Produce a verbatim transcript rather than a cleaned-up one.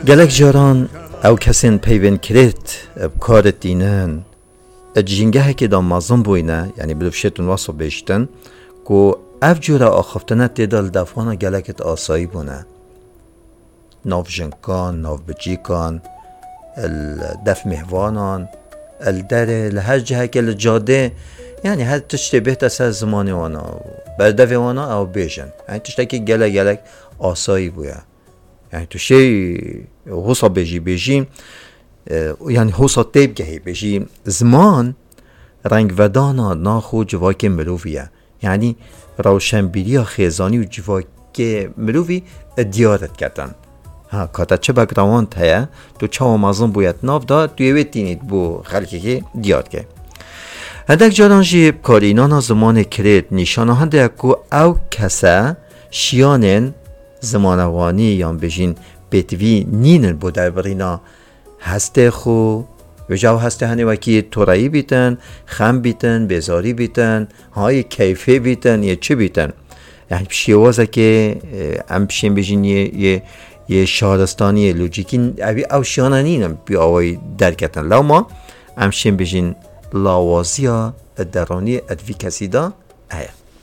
Gelek caran ew kesên peyvên kirêt bi kar tînin, di jîngehekê de mezin bûyne, yanî bi dûvşêtin wesa bêjtin, ku ev cûre axaftine tê de li defana gelek di asayî bûne. Nav jinkan, nav bicîkan, li def mêhvanan, li derê, li her cihekê, li cadê, yanî her tiştê bêhte ser zimanê wana, berdevê wana ew bêjin. Yanî tiştekî gelek gelek asayî bûye. Yanî tu şey hosa bêjî, bêjî, e, yanî hosa tê bigehî, bêjî ziman rengvedana nax û civakê mirovî ye. Yanî rewşenbîriya xêzanî û civakê mirovî diyar diketin. Ha, ka te çi background heye, tu çawa mezin bûye di nav de, tu yê wê tînî bo xelkekê diyar dike. Hindek caran jî karînana zimanê kirêt nîşana hinde ye ku ew kese şiyanên zimanevanî yan bêjîn pêtivî nînin bo derbirîna hestê xwe. Vêca ew hestê henê wekî toreyî bîtin, xem bîtin, bêzarî bîtin, ha yê keyfê bîtin, yê çi bîtin. Yanî bi şêwazekê, e, em şên bêjin yê, yê, yê şaristanî, yê lojîkî, ev, ew şiyana nînin bi awayî derketin. Lewma em şên bêjin lawaziya deranî di vî kesî de heye.